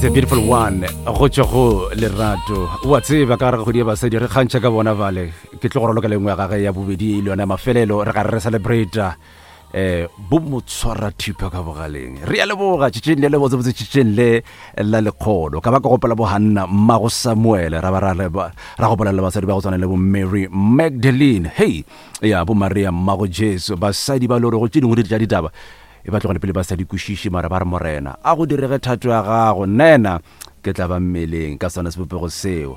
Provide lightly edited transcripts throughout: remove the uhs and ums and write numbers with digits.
It's a beautiful one go tšwa go lerato wa tseba ka gare ga kgwedi ya basadi re kgantšha ka bona bale ke tlo go raloka lengwe ya gage ya bobedi e le yona ya mafelelo re ga re re celebrata um eh, bo motshwara thipa ka bogaleng re ya leboga tšetšeng le le botsebotse tšetšeng le la lekgolo ka ba ka gopola bo hanna mmago samuele ra ba ra gopola le basadi ba go tshwana le bo mary magdalene hei ya bo maria mmago jesu basadi ba lore go tše dingwe di tša ditaba E ba tlogele pele ba sa di kwešiše, mara ba re, Morena, a go direge thato ya gago, nnaena ke tla ba mmeleng ka sona sebopego seo.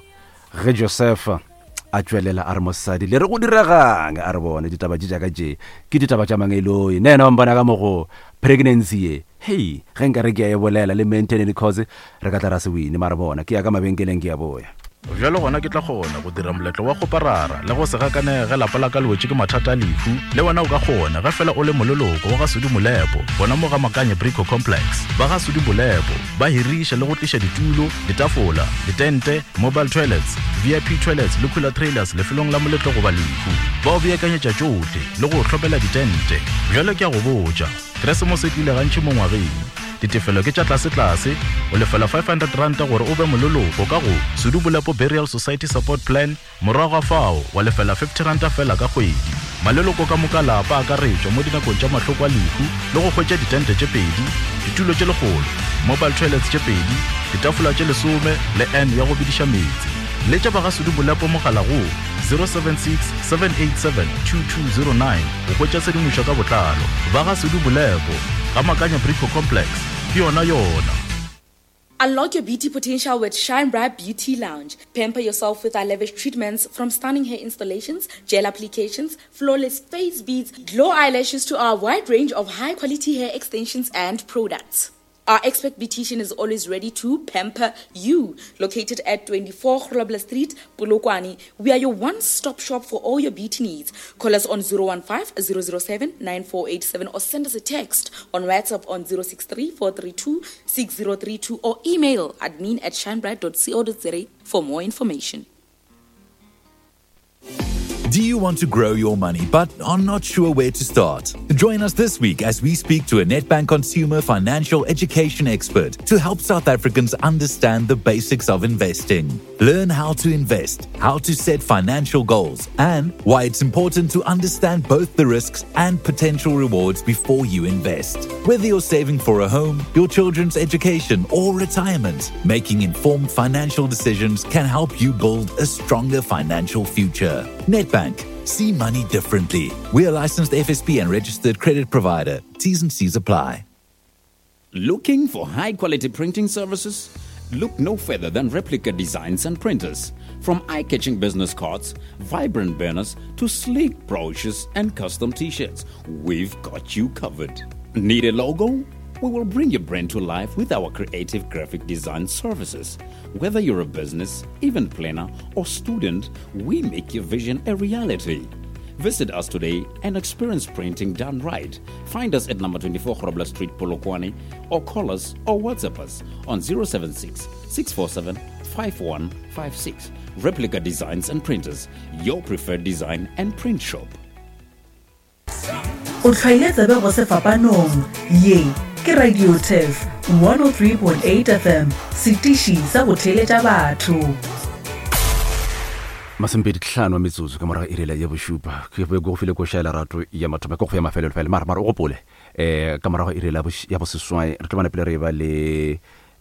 Ge Josefa a tšwelela a re, Mosadi, le re go diregang? A re, Bone, ditaba tše tša ka tše ke ditaba tša mangeloi. Nnaena wa mpona ka mogo pregnancy ye, hei, ge nka re ke a e bolela le maintenance cause re ka tla ra se wine, mara bona, ke ya ka mabenkeleng ke a boya. Bjalo gona ke tla kgona go dira moletlo wa kgoparara le go se gakanege ge lapa la ka le wetše ke mathata a lehu. Le wena o ka kgona ge fela o le moleloko wa ga Sudi Molepo gona mo ga Makanye Brico Complex. Ba ga Sudi Molepo ba hiriša le go tliša ditulo, ditafola, ditente, mobile toilets, VIP toilets le cooler trailers lefelong la moletlo goba lehu. Ba o beakanyetša tšohle le go o hlopela ditente. Bjalo ke a go botša, Keresemose e tlile gantši mo ngwageng. Ditefelo ke tša tlasetlase, o lefela R500 gore o be moleloko ka go Sudu Bolepo Burial Society Support Plan, morago ga fao wa lefela R50 feela ka kgwedi. Maleloko ka moka lapa a akaretšwa mo dinakong tša mahloko a lehu le go hwetša ditente tše pedi, ditulo tše lekgolo, mobile toilets tše pedi, ditafola tše lesome le urn ya go bediša meetse. Letša ba ga Sudu Bolepo mogala go 076 787 2209 go hwetša tshedimošo ka botlalo. Ba ga Sudu Bolepo, ga Makanya Brico Complex, ke yona yona. Unlock your beauty potential with Shine Bright Beauty Lounge. Pamper yourself with our lavish treatments from stunning hair installations, gel applications, flawless face beads, glow eyelashes to our wide range of high quality hair extensions and products. Our expert beautician is always ready to pamper you. Located at 24 Grobler Street, Polokwane, we are your one-stop shop for all your beauty needs. Call us on 015 007 9487 or send us a text on WhatsApp on 063 432 6032 or email admin at shinebright.co.za for more information. Do you want to grow your money but are not sure where to start? Join us this week as we speak to a Nedbank consumer financial education expert to help South Africans understand the basics of investing. Learn how to invest, how to set financial goals, and why it's important to understand both the risks and potential rewards before you invest. Whether you're saving for a home, your children's education, or retirement, making informed financial decisions can help you build a stronger financial future. Nedbank. See money differently. We are licensed FSP and registered credit provider. T's and C's apply. Looking for high quality printing services? Look no further than Replica Designs and Printers. From eye catching business cards, vibrant banners, to sleek brochures and custom t shirts, we've got you covered. Need a logo? We will bring your brand to life with our creative graphic design services. Whether you're a business, event planner, or student, we make your vision a reality. Visit us today and experience printing done right. Find us at number 24 Grobler Street, Polokwane, or call us or WhatsApp us on 076 647 5156. Replica Designs and Printers, your preferred design and print shop. O hlwaile tsebe go sefapanong. Ye ke Radio Turf 103.8 FM, setiši sa go theeletša batho. Masomepedi tlhano a metsotso ka morago irela ya bošupa ke be go file koša ya lerato ya mathomo ke go ya mafelelo fela mara mara o gopole um ka morago irela ya boseswai re tlo bana pele re e ba le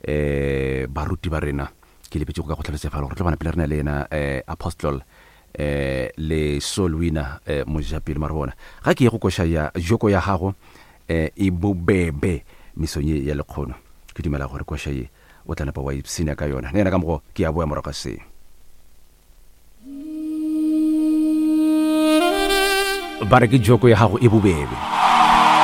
um baruti ba rena ke lebetse go ka go tlhalosetsa fela gore re tlo bana pele re na le yena um apostle eh le soul winner eh mojapele mara bona ga ke ye go koša ya joko ya gago eh e bobebe mesong ye ya lekgono ke dumela gore koša ye o tla napa wa ipshina ka yona le yena ka mogo ke ya boya morago ga se ba re ke joko ya gago e bobebe.